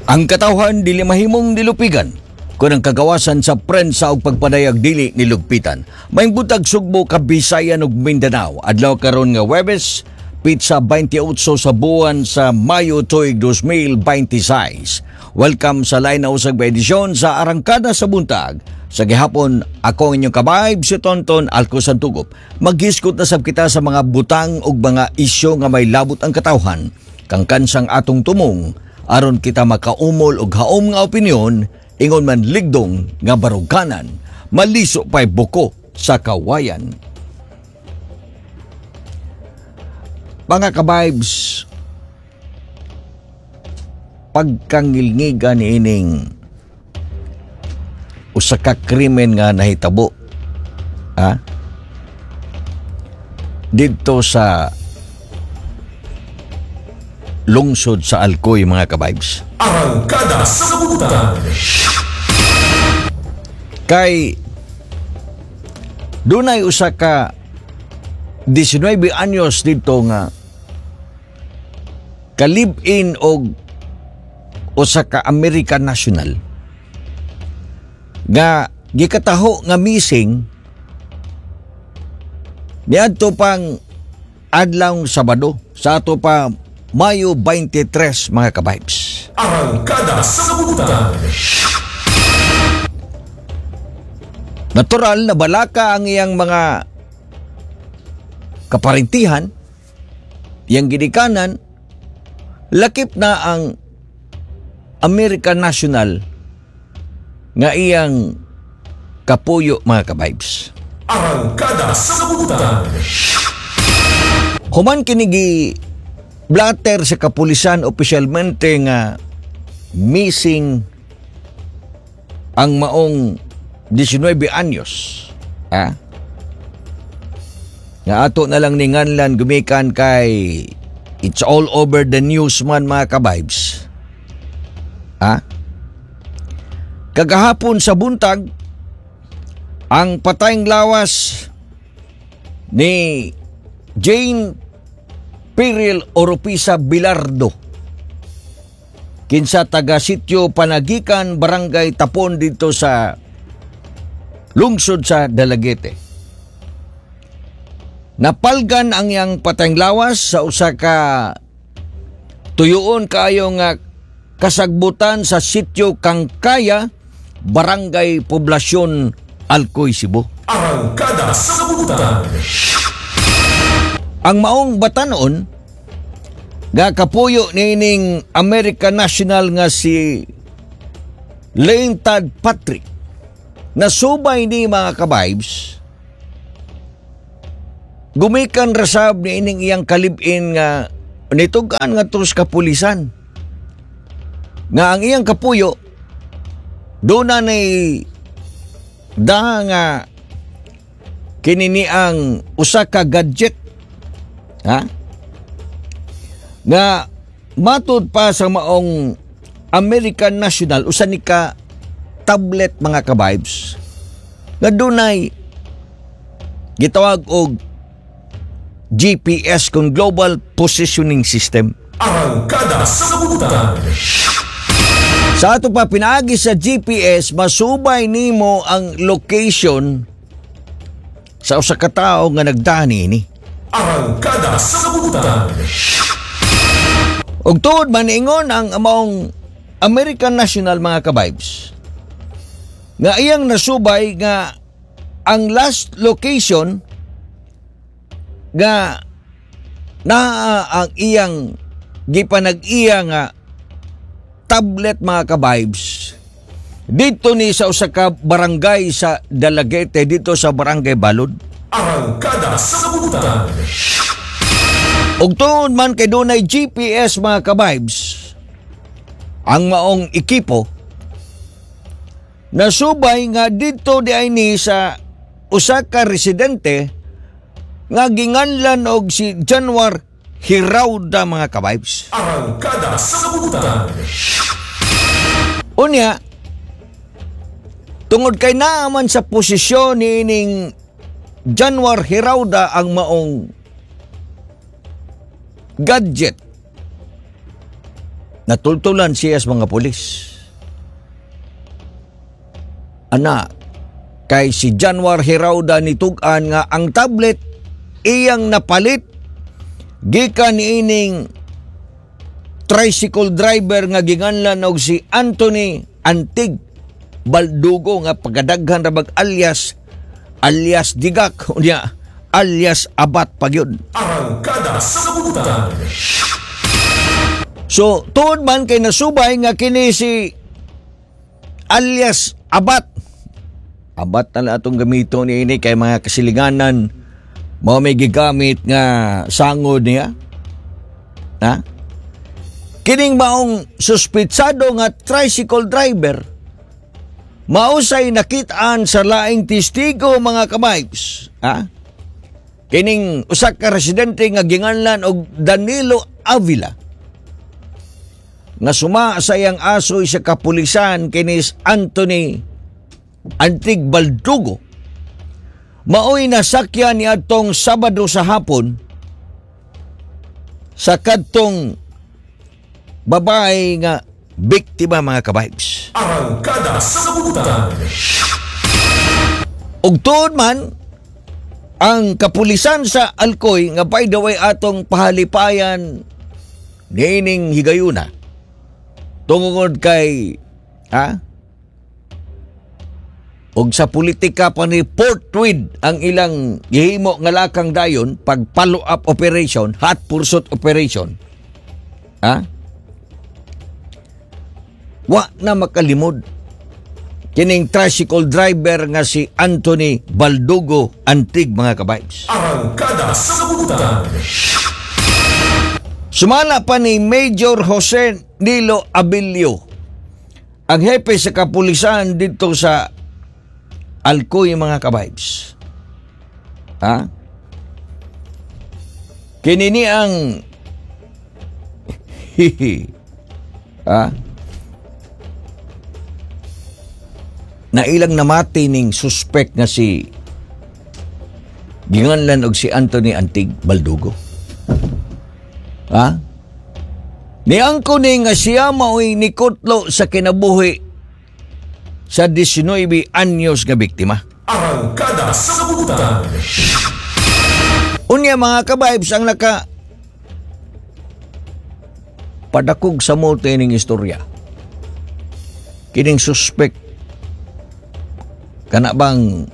Ang katawhan dili mahimong dilupigan kung ang kagawasan sa prensa og pagpadayag dili nilugpitan. Maayong buntag, Sugbo, Kabisayan ug Mindanao. Adlaw karon nga Webes, petsa 28 sa buwan sa Mayo tuig 2026. Welcome sa lain na usag ba edisyon sa Arangkada sa Buntag. Sa gihapon, ako ang inyong kabayb, si Tonton Alcosan Tugop. Maghisgot na sab kita sa mga butang ug mga isyu nga may labot ang katawhan. Kang kansang atong tumong aron kita makaumol og haom nga opinyon, ingon man ligdong nga baruganan, maliso pa'y buko sa kawayan. Mga ka-vibes, pagkangilngigan ni ining usa ka krimen nga nahitabo, ha, didto sa lungsod sa Alcoy, mga ka-vibes. Arangkada sa Buntag. Kay dunay usa ka 19 anyos didto nga kalib-in og usa ka American national nga gikataho nga missing niadto pang adlaw Sabado sa ato pa Mayo 23, mga ka-vibes. Arangkada sa Buntag. Natural na balaka ang iyang mga kaparintihan, iyang ginikanan, lakip na ang American National nga iyang kapuyo, mga ka-vibes. Arangkada sa Buntag. Human kinigi blatter sa kapulisan opisyalmente nga missing ang maong 19 anyos. Ha? Nga ato na lang ni nganlan gumikan kay it's all over the news man, mga ka-vibes. Ha? Kagahapon sa buntag, ang patayng lawas ni Jane Piril Oropisa Bilardo, kinsa taga sitio Panagikan, Barangay Tapon dito sa lungsod sa Dalaguete. Napalgan ang iyang patayng lawas sa usa ka tuyuon kaayo nga kasagbutan sa sitio Kangkaya, Barangay Poblasyon, Alcoy, Cebu. Arangkada sa Buntag. Ang maong batanon nga kapuyo niining American National nga si Lane Todd Patrick nasubay ni, mga ka-vibes, gumikan rasab ni ining iyang kalibin nga nitugan nga sa kapulisan nga ang iyang kapuyo doon na ni da nga kinini ang usa ka gadget, ha, nga matud pa sa maong American National usa ni ka tablet, mga ka-vibes, nga dunay gitawag og GPS kung Global Positioning System. Arangkada sa Buntag. Sa ato pa pinaagi sa GPS masubay nimo ang location sa usa ka tawo nga nagdani ni. Arangkada sa Buntag. Ug tuod man ingon ang maong American National, mga ka-vibes, nga iyang nasubay nga ang last location nga naa ang iyang gipanag-iya nga tablet, mga ka-vibes, dito ni sa usa ka barangay sa Dalaguete, dito sa Barangay Balod. Arangkada sa Buntag. Ug tuod man kay dunay GPS, mga ka-vibes, ang maong ekipo nasubay nga didto di ay ni sa usa ka residente nga ginganlan og si Januar Hirauda, mga ka-vibes. Arangkada sa Buntag. Unya, tungod kay naaman sa posisyon ni ining Januar Hirauda ang maong gadget, Natultulan siya sa mga pulis. Ana, kay si Januar Hirauda nitug-an nga ang tablet iyang napalit gikan niining tricycle driver nga ginganlan og si Anthony Antig Baldugo, nga pagkadaghan ra bag alias, alias Digak, unya alias Abat pa gyud. Arangkada sa Butan. So, tuod man kay nasubay nga kini si alias Abat. Abat na lang atong gamito ni ini kay mga kasilinganan mao may gigamit nga sangod niya. Ha? Kining maong suspitsado nga tricycle driver mausay nakitaan sa laing testigo, mga ka-vibes. Ha? Kining usa ka residente nga ginganlan og Danilo Avila nga suma sa iyang asoy sa kapulisan, kinis Anthony Antig Baldugo maoy nasakyan ni atong Sabado sa hapon sa kadtong babae nga biktima, mga ka-vibes. Arangkada sa Butan. Ug tuod man ang kapulisan sa Alcoy, nga by the way atong pahalipayan niining higayuna tungod kay, ha, og sa politika pa ni forthwith ang ilang gihimo nga lakang dayon pag follow up operation, hot pursuit operation, ha, wa na makalimod kining tricycle driver nga si Anthony Baldugo Antig, mga ka-vibes. Arangkada sa Butan. Sumala pa ni Major Jose Nilo Abilio, ang hepe sa kapulisan dito sa Alcoy, mga ka-vibes. Ha? Kini ni ang, ha? Na ilang namati ning suspect nga si ginganlan og si Anthony Antig Baldugo. Ha? Niangko ni nga siya mao'y nikutlo sa kinabuhi sa 19 anyos nga biktima. Arangkada sa Butan. Unya, mga ka-vibes, ang naka padakog sa mote ning istorya, kining suspect, kana bang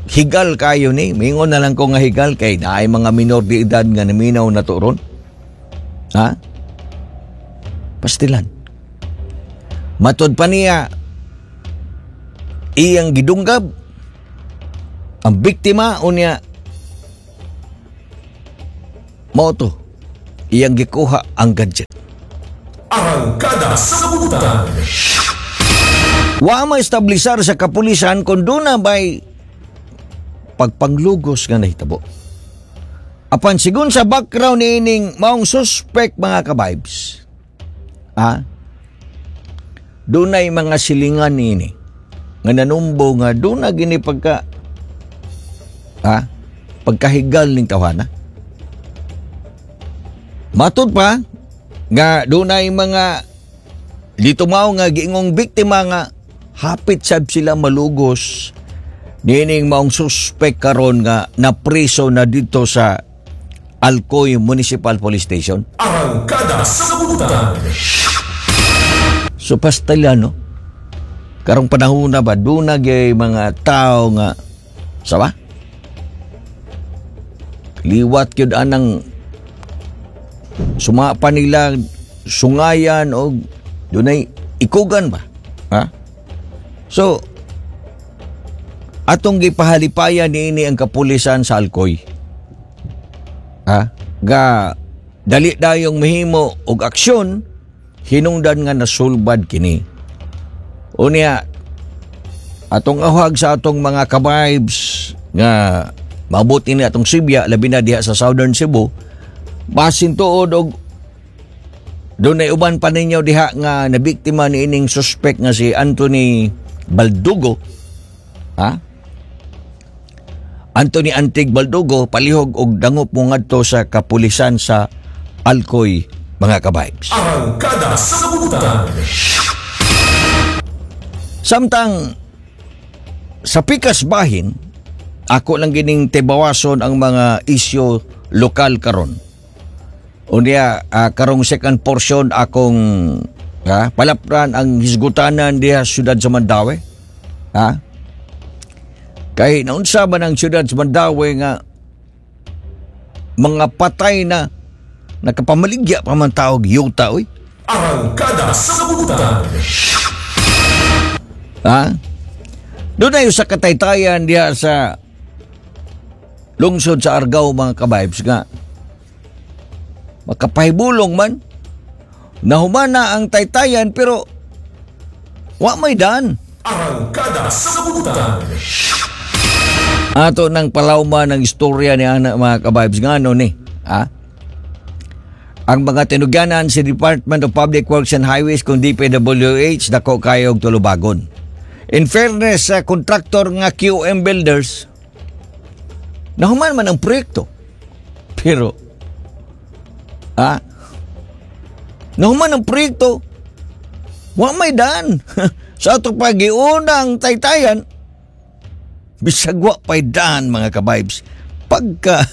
higal kayo ni, mingon na lang ko nga higal kay naay mga minor de edad nga naminaw na to ron. Ha? Pastilan. Matod pa niya, iyang gidunggab ang biktima, unya mao to iyang gikuha ang gadget. Arangkada sa Butan. Wa maestablisar sa kapulisan kung duna ba'y pagpanglugos nga nahitabo. Apan sigun sa background ni ining maong suspect, mga ka-vibes, dunay mga silingan niini nga nanumbo nga duna gini pagka, pagkahigal ning tawhana. Matud pa nga dunay mga dito mao nga giingong biktima nga hapit sab sila malugos niining maong suspect karon nga napriso na dito sa Alcoy Municipal Police Station. Arangkada sa Butan. So pastilya, no? Karong panahon na ba, doon na gyud mga tao nga, sawa? Liwat gyud anang suma pa nila sungayan o dunay ikugan ba? Ha? So, atong gipahalipayan niini ang kapulisan sa Alcoy. Ha? Ga dali dayong mahimo og aksyon hinungdan nga nasulbad kini. Unya, atong awhag sa atong mga ka-vibes nga mabuti ni atong Sibya, labi na diha sa Southern Cebu, basin tuod og dunay uban pa ninyo diha nga nabiktima ni ining suspect nga si Anthony Baldugo. Ha? Anthony Antig Baldugo, palihog og dangop mo ngadto sa kapulisan sa Alcoy mga ka-vibes. Arangkada sa Buntag. Samtang sa pikas bahin, ako lang gining tibawason ang mga isyu lokal karon. Unya karong second portion akong palapran ang hisgutanan diha syudad sa Mandaue. Ha? Kay naunsa man ang syudad sa Mandaue nga mga patay na nakapamaligya pa man taog yuta oy. Arangkada sa Buntag. Ha? Doon na yung sa kataytayan diha sa lungsod sa Argao, mga ka-vibes, nga makapahibulong man nahumana ang taytayan pero wa may daan. Arangkada sa Buntag. Ato nang palawma ng istorya ni ana, mga ka-vibes, nga ano ni ha? Ang mga tinugyanan si Department of Public Works and Highways kung DPWH dako kayo og tulubagon. In fairness sa kontraktor nga QM Builders, nahuman man ang proyekto. Pero nahuman ang proyekto, wa may daan. Sa ato pagiunang taytayan, bisag wa pa'y daan, mga ka-vibes. Pagka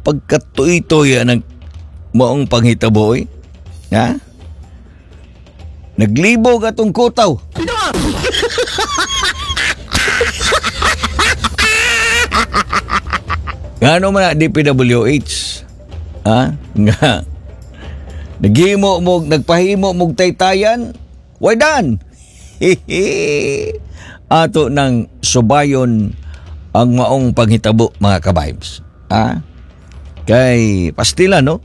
pagkatuy-tuy ang maong panghitabo oy. Ha? Naglibog atong kutaw. Ngano man na DPWH? Ha? Nga. Naghimo mo, nagpahimo mog taytayan, way daan. Ato nang subayon ang maong panghitabo, mga ka-vibes. Ha? Kay pastila, no?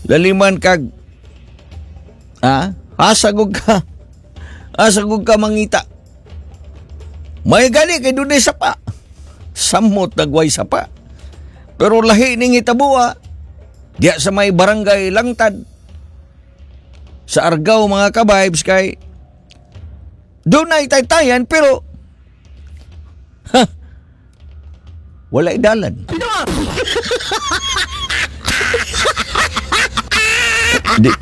Laliman kag ha? Hasagog ka. Hasagog ka mangita. May gali kay dunay sapa. Samot nagway sapa. Pero lahi ning hitabo, diya sa may barangay Langtad sa Argao, mga ka-vibes, kay dunay taytayan pero ha, wala idalan. Di.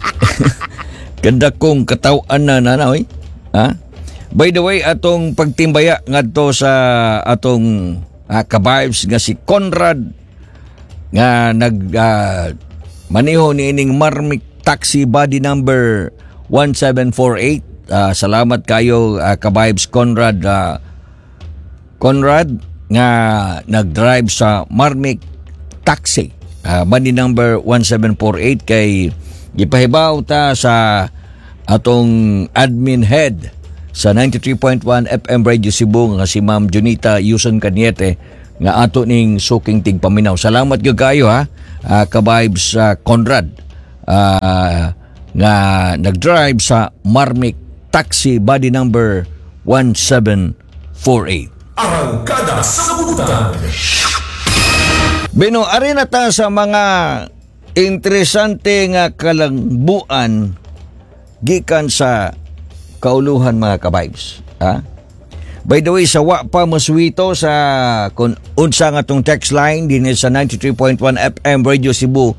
Ganda kong katawan na na oy. Ha? By the way, atong pagtimbaya ngadto sa atong ka-vibes nga si Conrad nga nag maniho ni ining Marmic Taxi body number 1748. Salamat kayo, ka-vibes Conrad, Conrad nga nag-drive sa Marmic Taxi body number 1748, kay gipahibaw ta sa atong admin head sa 93.1 FM Radio Cebu nga si Ma'am Junita Yuson Cañete nga ato ning suking tigpaminaw. Salamat gyud kayo ha, ka-vibes Conrad nga nag-drive sa Marmic Taxi body number 1748. Arangkada sa Buntag. Bino, ari na ta sa mga interesante nga kalangbuan gikan sa kauluhan, mga ka-vibes. Ha? By the way, sa wa pa moswito sa kung unsa nga tong text line din sa 93.1 FM Radio Cebu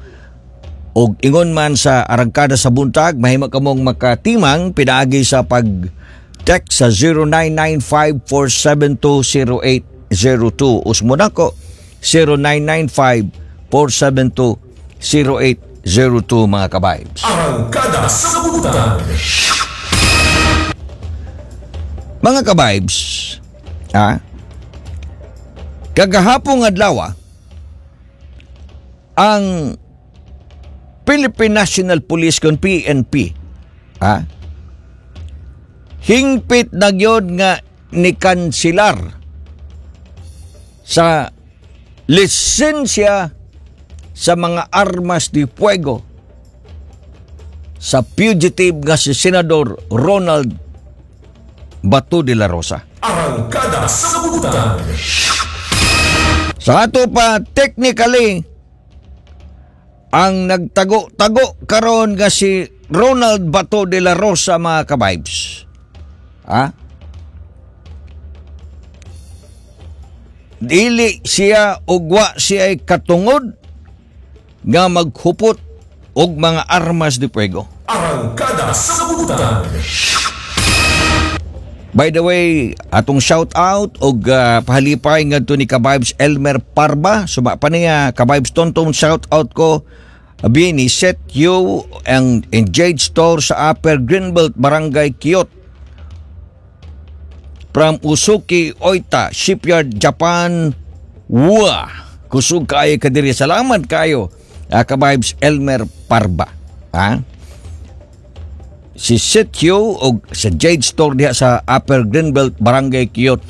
og ingon man sa Arangkada sa Buntag, mahimo kamong makatimang pinaagi sa pag text sa 0995-472-0802. Usmon nako, 0995-472-0802, mga ka-vibes. Arangkada sa Buntag. Mga ka-vibes, ha? Kagahapong adlaw, ang Philippine National Police kon PNP, ha? Hingpit na gyud nga nikansilar sa lisensya sa mga armas de fuego sa fugitive nga si Senador Ronald Bato de la Rosa. Arangkada sa Buntag. Sa ato pa, technically, ang nagtago-tago karon nga si Ronald Bato de la Rosa, mga ka-vibes. Ha? Dili siya ugwa siya ay katungod nga maghupot Og mga armas de fuego. Arangkada sa Butan. By the way, atong shout out og pahalipay ngadto ni Kabibes Elmer Parba. Suma pa niya, Kabibes Tonton, shout out ko. Abi ni Set You ang in Jade Store sa Upper Greenbelt, Barangay Kiot. From Usuki Oita Shipyard, Japan. Wa! Kusog kaayo kadiri. Salamat kayo, Kabibes Elmer Parba. Ha? Si Sitio o sa Jade Store diha sa Upper Greenbelt, Barangay Kiot,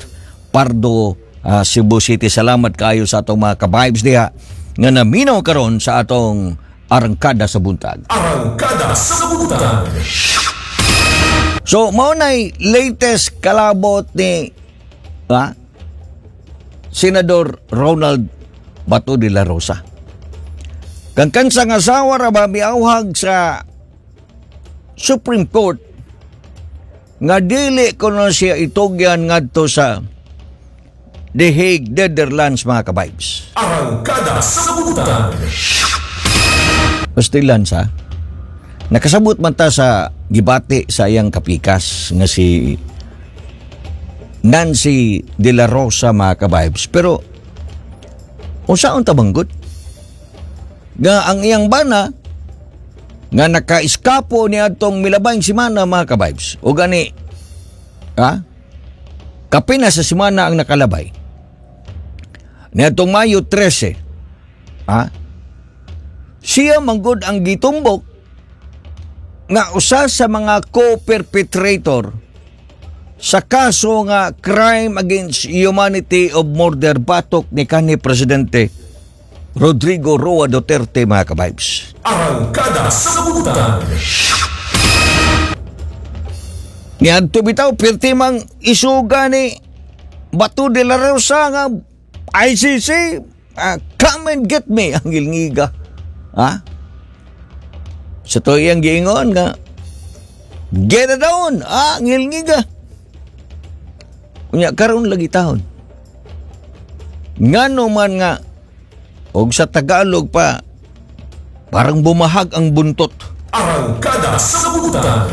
Pardo, Cebu City. Salamat kayo sa atong mga kabibes diha nga naminaw karon sa atong Arangkada sa Buntag. Arangkada sa Buntag. So, mao nay latest kalabot ni Senador Ronald Bato de la Rosa. Kang kansang asawa ra ba miawhag sa Supreme Court nga dili kuno siya itugyan ngadto sa The Hague, Netherlands, mga kabibes. Arangkada sa Buntag. Pastilan sa nakasabot man ta sa gibati sa iyang kapikas nga si Nancy de la Rosa, mga kabibes. Pero unsaon ta manggod nga ang iyang bana nga naka-eskapo ni atong milabayng simana, mga kabibes, o gani ha kapin na sa simana ang nakalabay ni atong Mayo 13, ha, siya manggod ang gitumbok nga usa sa mga co-perpetrator sa kaso nga crime against humanity of murder batok ni kanhi Presidente Rodrigo Roa Duterte, mga kabibes. Arangkada sa Buntag. Niadto bitaw pirti mang isuga ni Bato de la Rosa nga "ICC, come and get me," ang gilngiga. Ha? Sa to iyang giingon nga "Get it on," ah, ngilngiga. Unya karon lagi tahon. Ngano man nga og sa Tagalog pa parang bumahag ang buntot. Arangkada sa Buntag.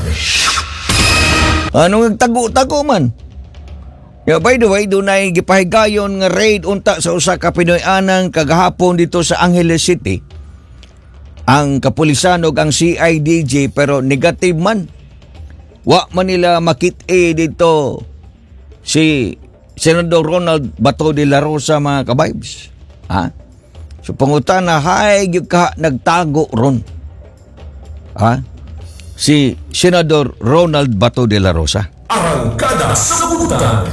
Ano nagtago-tago man? Yeah, by the way, dunay gipahigayon nga raid unta sa usa ka Pinoy-anang kagahapon dito sa Angeles City. Ang kapulisan ug ang CIDG, pero negative man. Wa man nila makit-e dito si Senador Ronald Bato de la Rosa, mga kabibes. Ha? So pangutana, hay gyud ka nagtago ron. Ha? Si Senador Ronald Bato de la Rosa. Arangkada sa Buntag.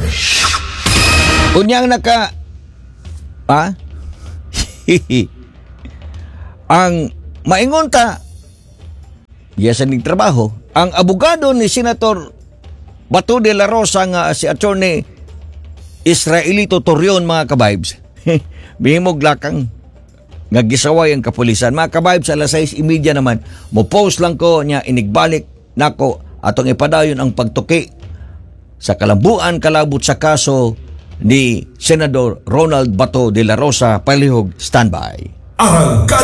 Unyang naka ha? Ang maingon ta yes ning trabaho ang abogado ni Senator Bato de la Rosa nga si Attorney Israelito Torreon, mga kabibes, mihimog lakang nga gisaway ang kapulisan, mga kabibes. Alas 6:30 naman mo post lang ko niya, inigbalik nako atong ipadayon ang pagtuki sa kalambuan kalabot sa kaso ni Senador Ronald Bato de la Rosa. Palihog standby. Arangkada